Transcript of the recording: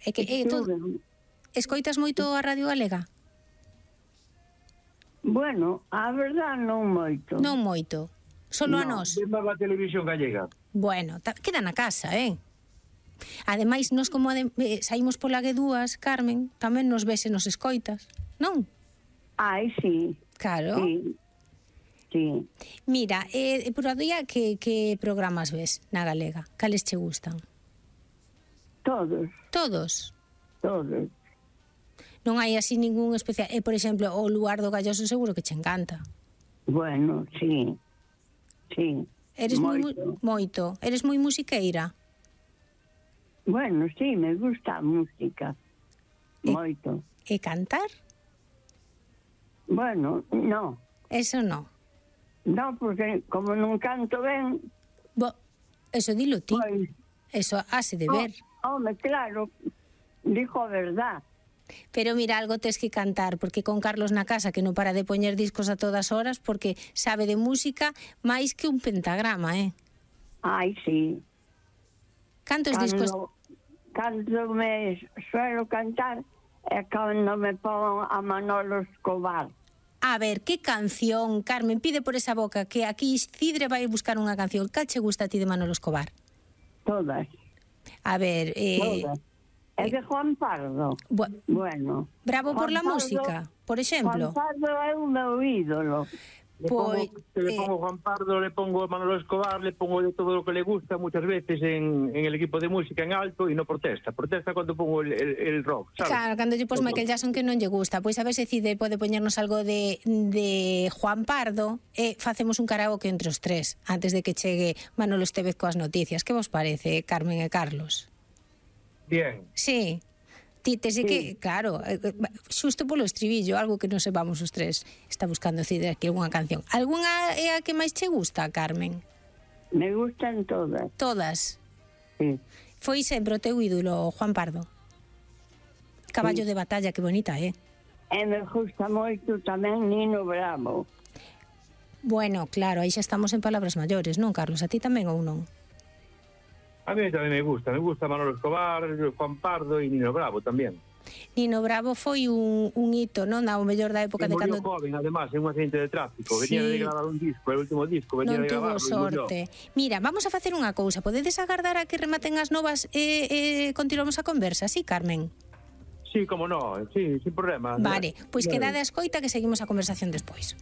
É que escoitas moito a Radio Galega? Bueno, a verdad non moito. Non moito. Solo a nós. Vemos a televisión gallega. Bueno, queda na casa, Ademais, nós como saímos pola G2, Carmen, tamén nos ves e nos escoitas, non? Ai, sí. Claro. Sí. Mira, por a día, que programas ves na Galega? Cales che gustan? Todos. Todos? Todos. Non hai así ningún especial. Por exemplo, o Luar do Galloso seguro que che encanta. Bueno, sí. Sí. Eres moito. Eres moi musiqueira? Bueno, sí, me gusta a música. Moito. E cantar? Bueno, no. Eso no. No, porque como non canto ben... Eso dilo ti. Pois, eso hase de ver. Home, claro, dijo a verdad. Pero mira, algo tes que cantar, porque con Carlos na casa, que non para de poñer discos a todas horas, porque sabe de música máis que un pentagrama, Ai, sí. Cantos discos... Cando me suelo cantar é cando me pongo a Manolo Escobar. A ver, que canción, Carmen, pide por esa boca, que aquí Cidre vai buscar unha canción. Cal che gusta a ti de Manolo Escobar? Todas. A ver... Todas. É de Juan Pardo. Bueno. Bravo por la música, por exemplo. Juan Pardo é o meu ídolo. Le pongo Juan Pardo, le pongo Manolo Escobar, le pongo de todo lo que le gusta muchas veces en el equipo de música en alto y no protesta. Protesta cuando pongo el rock, ¿sabes? Claro, cando lle pos Michael Jackson que non lle gusta. Pois a ver se Cide pode poñernos algo de Juan Pardo e facemos un karaoke entre os tres antes de que chegue Manolo Estévez coas noticias. Que vos parece, Carmen e Carlos? Bien. Sí. Títese que, claro, xusto polo estribillo, algo que non sepamos os tres. Está buscando Cidre aquí algunha canción. Algunha é a que máis che gusta, Carmen? Me gustan todas. Todas? Sí. Foi sempre o teu ídolo, Juan Pardo? Caballo de batalla, que bonita, E me gusta moito tamén Nino Bravo. Bueno, claro, aí xa estamos en palabras maiores, non, Carlos? A ti tamén ou non? A mí tamén me gusta Manolo Escobar, Juan Pardo e Nino Bravo tamén. Nino Bravo foi un hito, non? O mellor da época de cando... joven, además, en un accidente de tráfico. Venía de gravar un disco, el último disco, venía de gravar. Non tuvo sorte. Mira, vamos a facer unha cousa. Podedes agardar a que rematen as novas e continuamos a conversa, sí, Carmen? Sí, como no, sí, sin problema. Vale, pois quedade a escoita que seguimos a conversación despois.